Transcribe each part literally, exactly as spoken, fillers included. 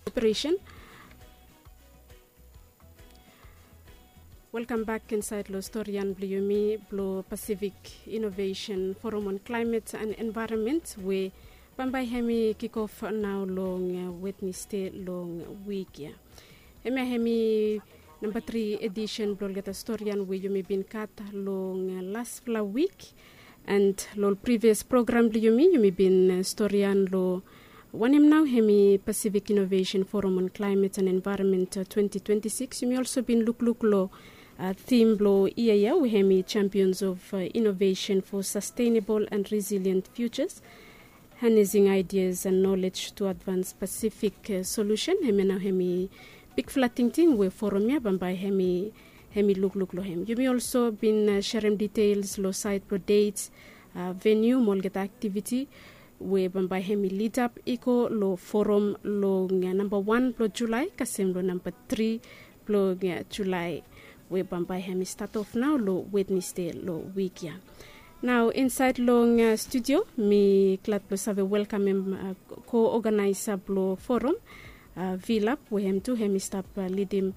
Operation. Welkam bak insaed long storian blong yumi blong Pacific Innovation Forum on Climate and Environment we bambae hem i kikof nao long Wednesde long wik ya. Hemia hem i namba tri edisen blong olgeta storian we yumi bin gat long laspela wik. And long ol previous program blong yumi yumi bin storian long wanem nao hem i Pacific Innovation Forum on Climate and Environment twenty twenty-six. Yumi also bin lukluk long thim blong yia ya we hem i Champions of Innovation for Sustainable and Resilient Futures, Harnessing Ideas and Knowledge to Advance Pacific Solution. Hemia nao hem i bikfala tingting we forum ya bambae hem i lukluk long hem. Yumi also bin serem details long saed blong dates, veniu mo olgeta aktiviti we bambae hem i lidap i go long forum long namba wan blong Julae kasem long namba tri blong Julae we bambae hem i stat of nao long Wednesde long wik ya. Nao insaed long studio mi glad blong save welkamem ko-oganaesa blong forum, Vilap, we hem tu hem i stap lidim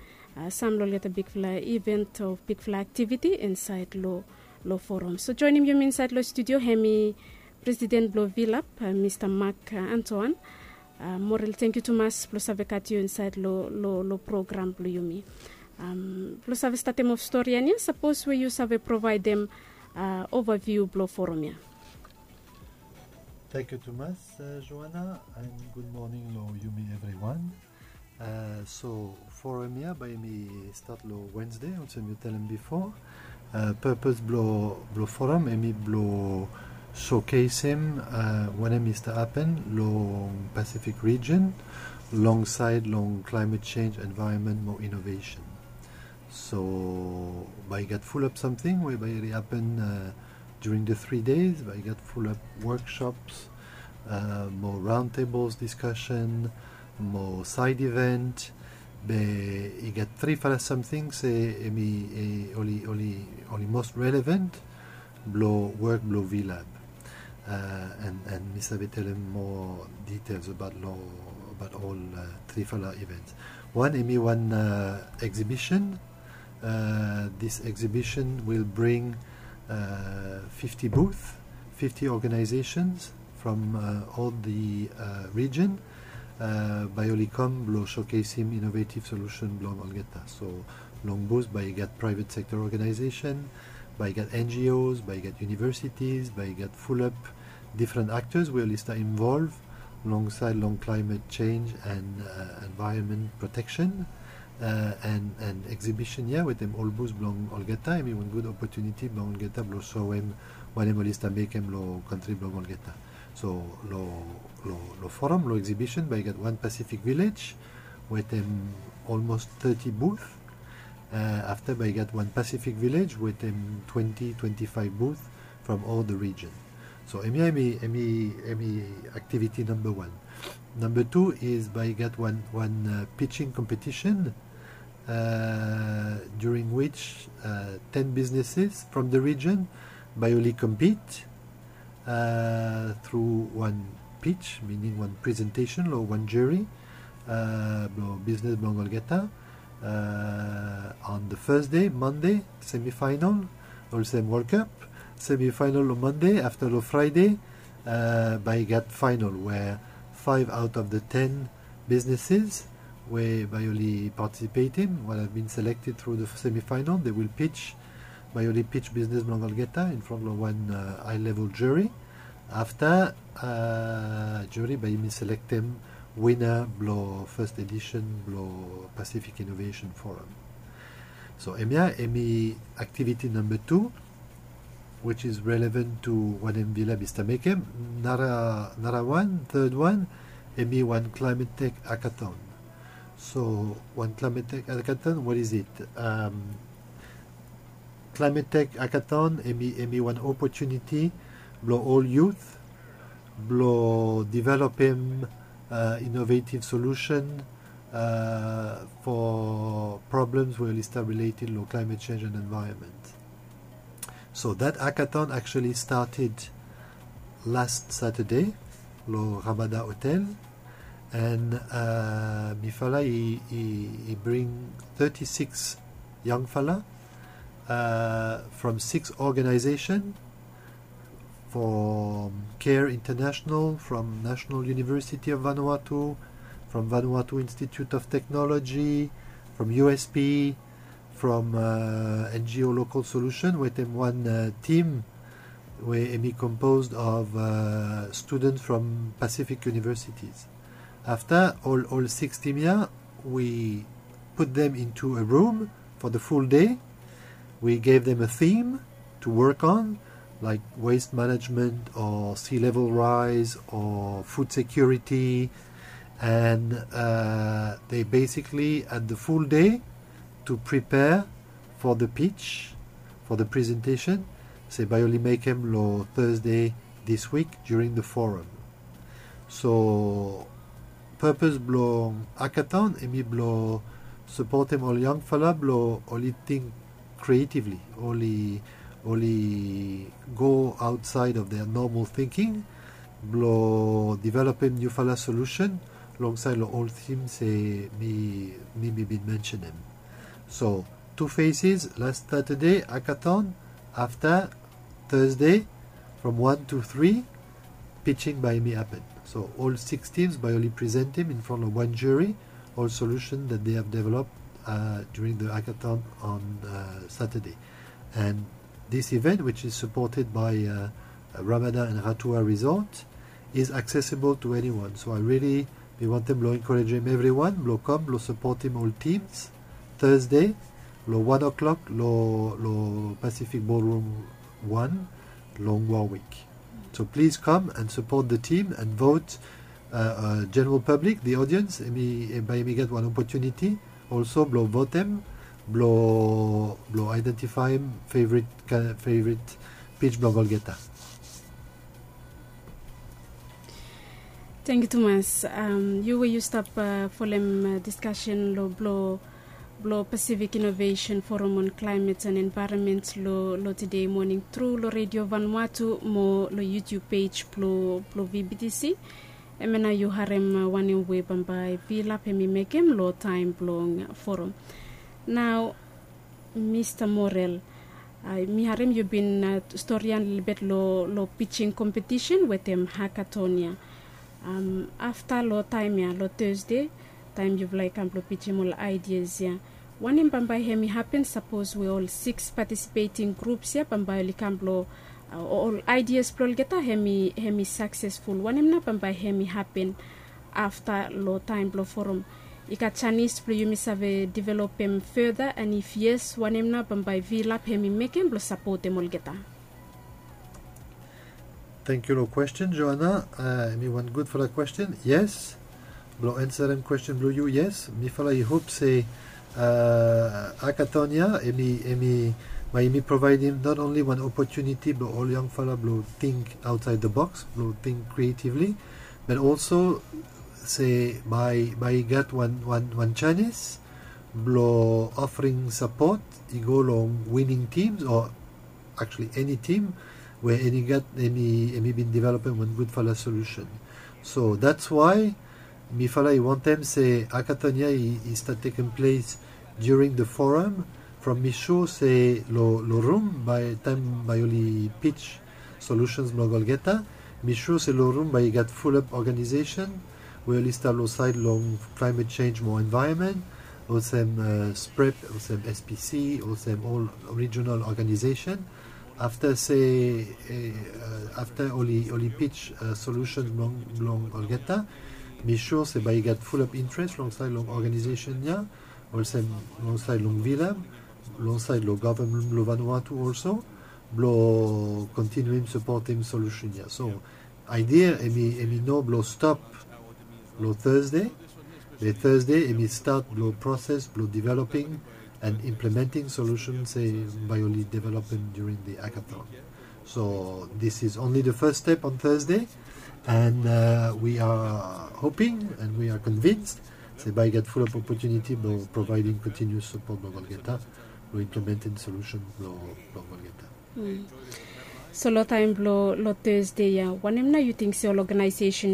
sam long olgeta bigfala event o bigfala aktiviti insaed long forum. So joenem yumi insaed long studio hem i presiden blong Vilap, Mista Mak Antoan. Morel, tenkyu tumas blong save gat yu insaed long program blong yumi. Blong save statem of storian ya, sapos we yu save provaedem ovaviu blong forum ya. Tenkyu tumas, Joana, and gud moning long yumi evriwan. So forum ya bae hem i stat long Wednesde olsem yu talem bifo. Purpose blong forum hem i blong showcasem wanem i stap hapen long Pacific region long saed long climate change, environment mo innovation. So bae i gat fulap samting we bae i hapen during the three days. Bae i gat fulap workshops mo roundtables discussion mo side event. Be i gat trifala samting se hem i oli most relevant blong wok blong Vilap. And mi save talem moa details abaot ol trifala events. Wan hem i wan exhibition. This exhibition will bring fifty booth, fifty organizations from all the region. Bae oli kam blong showcasem innovative solution blong olgeta. So long booth bae i gat private sector organization, bae i gat N G Os, bae i gat universities, bae i gat fulap different actors we oli stap involve long saed long climate change and environment protection. And exhibition ya wetem ol booth blong olgeta hem i wan gud opotuniti blong olgeta blong soem wanem oli stap mekem long kantri blong olgeta. So long forum long exhibition bae i gat wan Pacific Village wetem almost thirty booth. Afta bae i gat wan Pacific Village wetem twenty, twenty-five booth from all the region. So hemia hem i aktiviti namba wan. Namba tu is bae i gat wan pitching competition during which ten businesses from the region bae oli compete through wan pitch, meaning wan presentation long wan jury blong business blong olgeta. On the first day, Monday, semifinal, olsem World Cup, semifinal long Monday, afta long Friday bae i gat final where five out of the ten businesses we bae oli participatem, what have been selected through the semifinal, they will pitch, bae oli pitch business blong olgeta in front long wan high level jury. Afta jury bae hem i selektem winner blong first edition blong Pacific Innovation Forum. So hemia hem i aktiviti namba tu, which is relevant to wanem Vilap i stap mekem. Nara wan, third wan, hem i wan Climate Tech Hackathon. So wan Climate Tech Hackathon, what is it? Climate Tech Hackathon hem i wan opotuniti blong ol youth blong developem innovative solution for problems we oli stap related long climate change and environment. So that hackathon actually started last Saturday long Ramada Hotel. And mifala i bring thirty-six yangfala from six organization, from Care International, from National University of Vanuatu, from Vanuatu Institute of Technology, from U S P, from N G O Local Solution, wetem wan team we hemi composed of students from Pacific universities. Afta ol six team ya, we put them into a room for the full day. We gave them a theme to work on, like waste management or sea level rise or food security. And they basically had the full day to prepare for the pitch, for the presentation. Se bae oli mekem lo Thursday this week during the forum. So purpose blong hackathon hemi blo supportem ol yangfala blo oli think creatively, oli oli go outside of their normal thinking blo developem niufala solution longside lo ol theme se mi mi mi bin mentionem. So two phases, last Saturday hackathon, afta Thursday from one to three, pitching bae hemi happen. So ol six teams bae oli presentem in front of one jury ol solution that they have developed during the hackathon on Saturday. And this event, which is supported by Ramada and Ratua Resort, is accessible to anyone. So I really mi wantem blo encouragem everyone blo kam blo supportem ol teams Thursday lo one o'clock lo lo Pacific Ballroom one long Warwick. So please come and support the team and vote. General public, the audience, bae hemi get wan opportunity also blo votem blo blo identifyem favorite favorite pitch blong olgeta. Thank you tumas. Yu we yu stap folem discussion lo blo blo Pacific Innovation Forum on Climate and Environment lo lo today morning through lo Radio Vanuatu mo lo YouTube page blo blo V B T C. Hemia nao yu harem wanem we bambae Vilap hemi mekem lo taem blong forum. Nao Mista Morel, mi harem yu bin storian lelebet lo lo pitching competition wetem hackathon ya. Afta lo taem ya lo Thursday, taem yufala i kam blo pitchim ol ideas ya, wanem bambae hemi hapen sapos we ol six participating groups ya bambae oli kam blo ol ideas blo olgeta hemi hemi successful, wanem nao bambae hemi hapen afta lo taem blo forum? I gat janis blo yumi save developem further, and if yes, wanem nao bambae Vilap hemi mekem blo sapotem olgeta? Thank you lo question, Joanna. Hemi wan gudfala question. Yes, blo ansarem question blo yu, yes, mifala i hop se hackathon ya hemi hemi bae hemi provaedem not only wan opportunity blo ol yangfala blo think outside the box, blo think creatively, but also se bae bae i gat wan wan wan janis blo offering support i go long winning teams o actually eni tim we hemi gat hemi hemi bin developem wan gudfala solution. So that's why mifala i wantem se hackathon ya i stat tekem ples during the forum. From mi sure se lo lo rum bae taem bae oli pitch solutions blong olgeta, mi sure se lo rum bae i gat fulap organization we oli stap lo saed long climate change mo environment, olsem SPREP, olsem SPC, olsem ol regional organization. Afta se afta oli oli pitch solutions blong blong olgeta, mi sure se bae i gat fulap interes long saed long organization ya, olsem long saed long Vilap, long saed long gavman blong Vanuatu also, blo kontinium sapotem solution ya. So idea hemi hemi no blo stop lo Thursday. Be Thursday hemi stat blo proses blo developing and implementing solution se bae oli developem during the hackathon. So this is only the first step on Thursday, and we are hoping and we are convinced se bae i gat fulap opportunity blo provaedem continuous support blo olgeta blo implemetem solution blo olgeta. So lo taem blo lo Thursday ya, wanem nao yu ting se ol organization